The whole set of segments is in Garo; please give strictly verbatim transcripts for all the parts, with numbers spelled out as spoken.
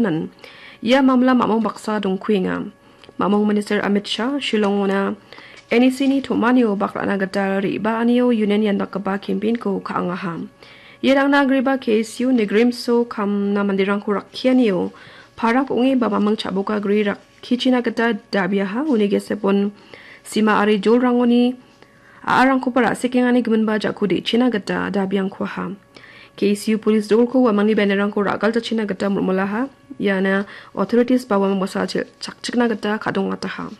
Nan, ia mamla mamong baksa dongkuenga. Mamong Minister Amit Shah Shillongona N E C-ni tom·anio bak ra·na gita re·baanio union iandakgipa campaign-ko ka·angaha. Ia rangna agreba K S U Nigrimso kamna manderangko rakkianio parak ong·e ba maming cha·boka gri rakkichina gita dabiaha, uni gesepon sima ari jolrangoni a·arangkoba ra·sekengani giminba jako de·china gita dabiangkuaha. K S U polis dolko uamangni bannerrangko ra·galchachina gita mul·mulaha. Iana authorities ba uamang bosachil chakchikna gita ka·dongataha.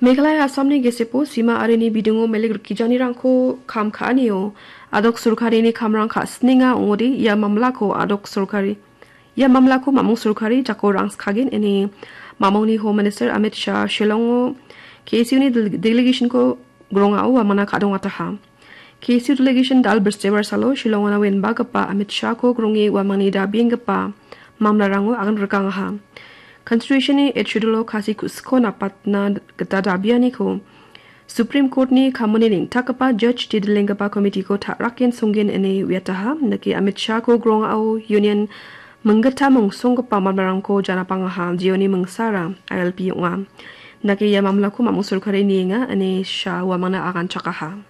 Meghalaya Assamni gesepo sima arini bidingo melek rikgijanirangko kam ka·anio adok sorkarini kamrang ka·sinenga ong·ode ia mamlako adok sorkari Ia mamlako mamung sorkari jako rangskagen ine mamungni Home Minister Amit Shah Shillongo K S U-ni del-, delegation-ko grongao uamangna ka·dongataha. K S U delegation dal Bristibar salo Shillongona uenbagipa Amit Shah-ko gronge uamangni dabienggipa mamlarango agan rikangaha. Constitution-ni Eighth Schedule-o Khasi ku·siko napatna gita dabianiko Supreme Court-ni kamoni neng·takgipa Judge T. Dilenggipa komiti-ko ta·raken songgen ine uiataha. Indake Amit Shah-ko grongao union minggittam ongsonggipa mamlarangko janapangaha, jeoni mingsara I L P ong·a. Indake ia mamlako mamung sorkari nienga ine Shah uamangna aganchakaha.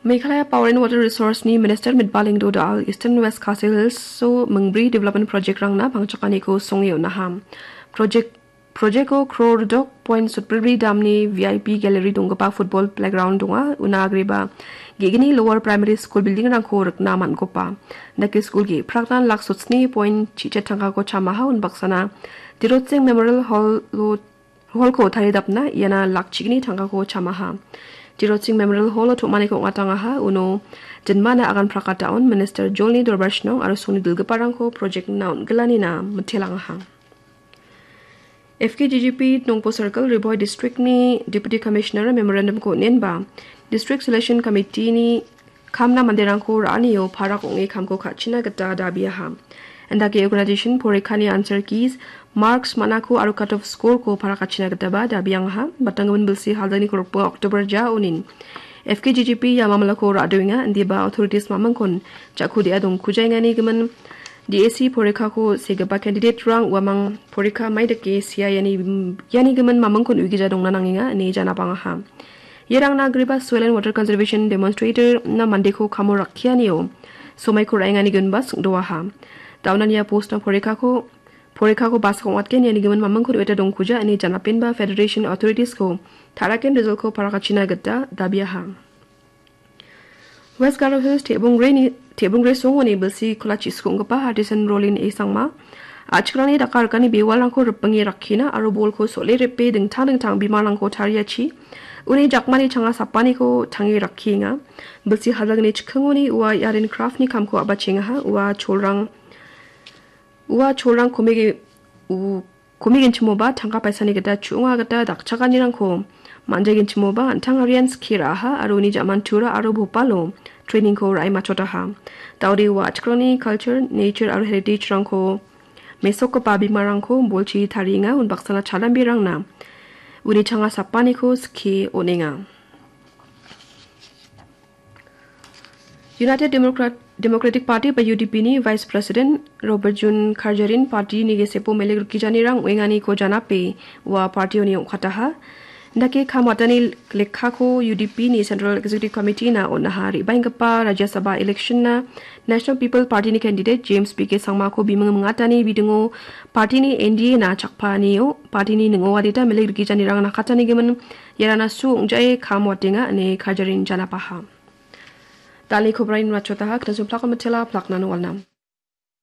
Meghalaya Power and Water Resource-ni Minister Mitbah Lyngdoh Dal Eastern West Khasi Hills-o mingbri development project-rangna pangchakaniko songe on·aha. Project, project-o crore dok point sotbri damni V I P gallery donggipa football playground donga. Una agreba ge·gni lower primary school building-rangko rikna man·gopa. Indake school ge·prakna lak sotsni point chichet tangkako chamaha unbaksana Tirotsing Memorial Hall-o Hall-ko taridapna iana lak chigni tangkako chamaha. Tirotsing Memorial Hall-o tom·aniko ong·atangaha, uno dinmana agan prakataon Minister Jolni Dorbar Shnong aro songni dilgiparangko project-na on·gilanina mitelangaha. F K G G P Nongpo Circle Ri Bhoi District-ni Deputy Commissioner memorandum-ko on·enba, District Selection Committee-ni kamna manderangko ra·anio parak ong·e kamko ka·china gita dabiaha. Indake organization porikani answer keys, marks man·ako aro cut off score-ko parak ka·china gitaba dabiangaha. Batanggimin bilsi haldani kolgrikbonga October ja onin F K G G P ia mamlako ra·doenga, indiba authorities mamingkon jako de·a dongkujaengani gimin D A C porikako segipa candidate-rang uamang porika maidake sia iani, iani gimin mamingkon uigija dongna nangenga ine janapangaha. Iarangna agreba Soil and Water Conservation Demonstrator-na mandeko kamo rakkianio somaiko ra·engani ginba sing·doaha. Daonan ia post-na porikako, porikako basak ong·atgen iani gimin mamingkon ueta dongkuja ine janapenba Federation Authorities-ko ta·raken result-ko parakachina gita dabiaha. West Garo Hills Tebongreni, Tebongre songoni bilsi kolachi skonggipa Artisan Rolin A Sangma, a·chikrangni daka rikani bewalrangko ripinge rakkina aro bolko sole ripe dingtang dingtang bimangrangko tariachi, uni jakmani changa sapaniko tange rakkienga. Bilsi haldagni chikkingoni ua Yaren Craft-ni kamko a·bachengaha, ua cholrang, ua cholrang komege-, u-, Komigenchimoba tangka paisani gita chu·onga gita dakchakanirangko man·jaigenchimoba an·tangarian skie ra·aha aro uni ja·man Tura aro Bhopalo training-ko ra·e matchotaha. Daode ua a·chikrangni culture, nature aro heritage-rangko mesokgipa bimangrangko bolchi tarienga, unbaksana chalambirangna uni changa sapaniko skie on·enga. United Democrat-, Democratic Party ba U D P-ni Vice President Robert Jun Karjarin party-ni gesepo melek rikgijanirang ong·enganiko janape ua party-oni ong·kataha. Indake kam watani lekkako U D P-ni Central Executive Committee-na on·aha. Re·baenggipa Rajya Sabha election-na National People Party-ni candidate James B K Sangmako biming mingatani bidingo party-ni N D A-na chakpaanio party-ni ning·o adita melek rikgijanirang nakatani gimin iarana su ong·jae kam watenga ine Karjarin janapaha. Dal·e kobrain matchotaha, knasumplako mitela, plakna nongalna.